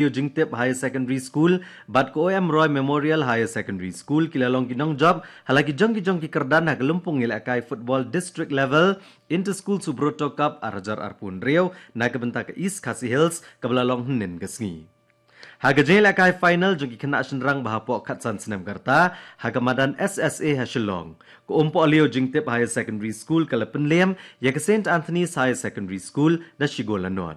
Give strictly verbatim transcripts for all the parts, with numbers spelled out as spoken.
Jingtip Higher Secondary School bad ka O M Roy Memorial Higher Secondary School ki la long ki nongjop ha la ki jong ki jong ki kyrdan ha ka lympung ïalehkai football district level Inter School Subroto Cup ar hajar arphew hynriew na ka bynta ka East Khasi Hills kaba la long hynnin ka sngi. Ha ka jingïalehkai final jong ki khynnah shynrang ba hapoh khatsan snem ka rta ha ka madan S S A ha Shillong, ka Umpohliew Jingtip Higher Secondary School ka la pynliem ïa ka Saint Anthony's Higher Secondary School da shi gol la nod.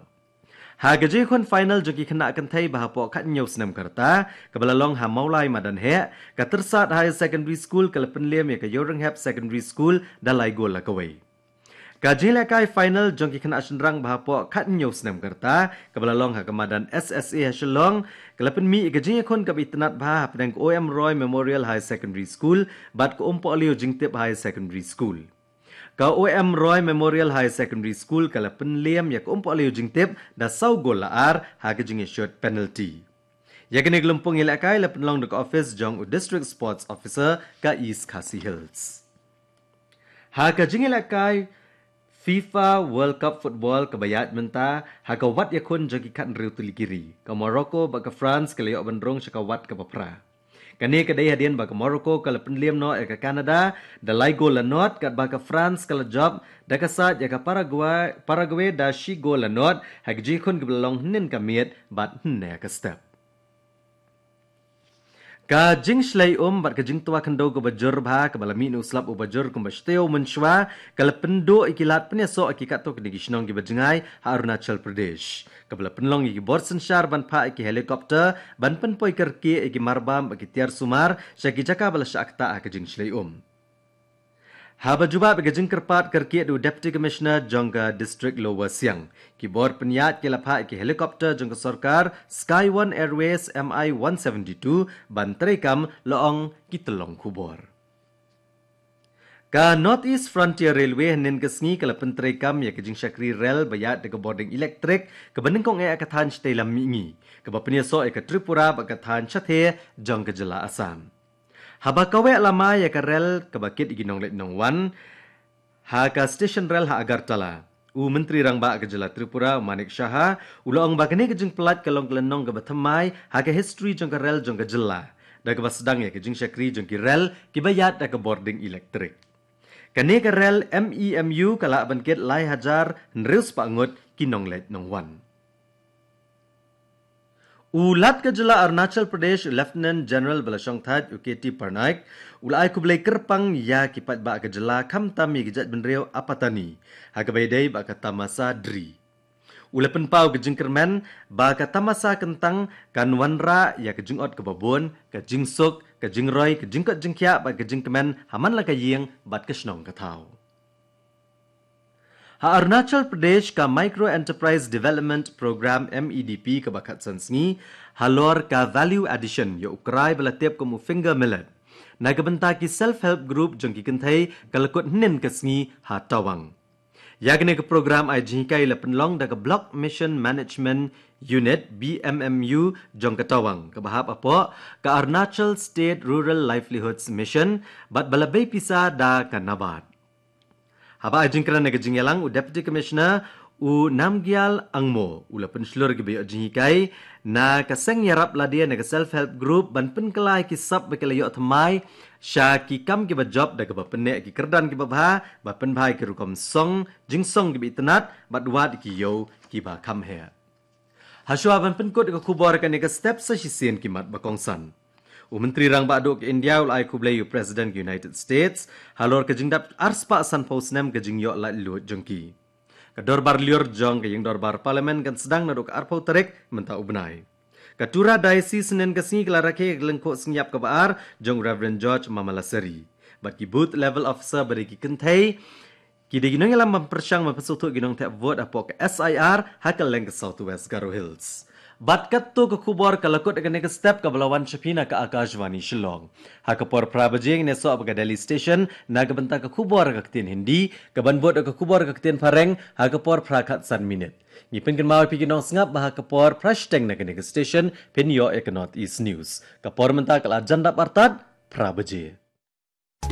Ha ka jingïakhun final jong ki khynnah kynthei ba hapoh khathynñiew snem ka rta kaba la long ha Mawlai Madan Heh, ka Tyrsad Higher Secondary School ka la pynliem ïa ka Ïewrynghep Secondary School da lai gol la kawei. Ka jingïalehkai final jong ki khynnah shynrang ba hapoh khathynñiew snem ka rta kaba la long ha ka madan S S A ha Shillong ka la pynmih ïa ka jingïakhun kaba itynnad bha hapdeng ka O M Roy Memorial Higher Secondary School bad ka Umpohliew Jingtip Higher Secondary School. Ka O M Roy Memorial Higher Secondary School ka la pynliem ïa ka Umpohliew Jingtip da saw gol la ar ha ka jingïashut penalty. Ïa kane ka lympung ïalehkai la pynlong da ka office jong u District Sports Officer ka East Khasi Hills. Ha ka jingïalehkai FIFA World Cup Football kaba ïaid mynta ha ka wat ïakhun jong ki khathynriew tylli ki ri, ka Morocco bad ka France ka la ïoh ban rung sha ka wat kaba phra. Kane ka dei hadien ba ka Morocco ka la pynliem noh ïa ka Canada da lai gol la nod, katba ka France ka la jop da ka sait ïa ka Paraguay, Paraguay da shi gol la nod ha ka jingïakhun kaba la long hynnin ka miet bad hynne ka step. Ka jingshlei um bad ka jingtwa khyndew kaba jur bha kaba la mih na u slap uba jur kumba shatei mynshwa ka la pynduh ïa ki lad pynïasoh ïa ki katto katne ki shnong kiba jngai ha Arunachal Pradesh, kaba la pynlong ïa ki bor synshar ban phah ïa ki helicopter ban pynpoi kyrkieh ïa ki marbam bad ki tiar sumar sha ki jaka ba la shah ktah ha ka jingshlei um. Haba jubab ïa ka jingkyrpad kyrkieh da u Deputy Commissioner jong ka District Lower Siang, ki bor pynïaid ki la phah ïa ki helicopter jong ka sorkar Sky One Airways M I one seventy-two ban treikam, la ong ki tyllong khubor. Ka North East Frontier Railway hynnin ka sngi ka la pyntreikam ïa ka jingshakri rel ba ïaid da ka bording elektrik kaba nyngkong eh ha ka thaiñ shatei lam mihngi, kaba pynïasoh ïa ka Tripura bad ka thaiñ shathie jong ka jylla Assam. Haba kaweh la mai ïa ka rel kaba kit ïa ki nongleit nongwan ha ka station rel ha Agartala, u Myntri Rangbah ka jylla Tripura, u Manik Saha, u la ong ba kane ka jingpyllait ka long ka lynnong kaba thymmai ha ka history jong ka rel jong ka jylla, da kaba sdang ïa ka jingshakri jong ki rel kiba ïaid da ka bording elektrik. Kane ka rel M E M U ka lah ban kit lai hajar hynriew spah ngut ki nongleit nongwan. U Lat ka jylla Arunachal Pradesh, u Lieutenant General ba la shongthait, u K T Parnaik, u la ai khublei kyrpang ïa ki paidbah ka jylla, khamtam ïa ki jaitbynriew Apatani, ha kaba ïadei bad ka tamasa Dri. U la pynpaw ka jingkyrmen ba ka tamasa kyntang kan wanrah ïa ka jingot kaba bun, ka jingsuk, ka jingroi, ka jingkot jingkhiah bad ka jingkmen ha man la ka ïing bad ka shnong ka thaw. Ha Arunachal Pradesh, ka Micro Enterprise Development Program, M E D P, kaba khatsan sngi, halor ka value addition ïa u krai ba la tip kum u finger millet, na ka bynta ki self help group jong ki kynthei ka la kut hynnin ka sngi ha Tawang. Ïa kane ka program ai jinghikai la pynlong da ka Block Mission Management Unit, B M M U, jong ka Tawang, kaba hap hapoh ka Arunachal State Rural Livelihoods Mission bad ba la bei pisa da ka NABARD. Haba ai jingkren ha ka jingïalang, u Deputy Commissioner, u Namgyal Angmo, u la pynshlur kiba ïoh jinghikai na ka seng ïarap lade na ka self help group ban pynkylla ïa ki sap ba ki la ïoh thymmai sha ki kam kiba jop, da kaba pynneh ki kyrdan kiba bha, ba pynbha ïa ki rukom song, jingsong kiba itynnad bad wad ïa ki ïew kiba kham heh. Hashwa ban pynkut ïa ka khubor kane ka step, sa shisien ki mat ba kongsan. U Myntri Rangbah Duh ka India u la ai khublei ïa u President ka United States halor ka jingdap arspah sanphew snem ka jingïoh laitluid jong ki. Ka dorbar lyiur jong ka ïing dorbar Parliament kan sdang naduh ka arphew tarik mynta u bnai. Ka Tura Diocese hynnin ka sngi ka la rakhe ïa ka lyngkhuh sngi ïap kaba ar jong u Reverend George Mamalassery. Bad ki booth level officer ba dei ki kynthei ki dei ki nongïalam ban pyrshang ban pynsngewthuh ïa ki nongthep vote hapoh ka S I R ha kylleng ka South West Garo Hills. Bad katto ka khubor ka la kut ha kane ka step, kaba la wan sha phi na ka Akashvani Shillong. Ha ka por phra baje ngin ïasoh bad ka Delhi Station na ka bynta ka khubor ha ka ktien Hindi, kaban bud da ka khubor ha ka ktien Phareng ha ka por phra khatsan minit. Ngi pynkynmaw ïa phi ki nongsngap ba ha ka por phra shiteng na kane ka station phin ïoh ïa ka North East News. Ka por mynta ka la jan dap artat phra baje.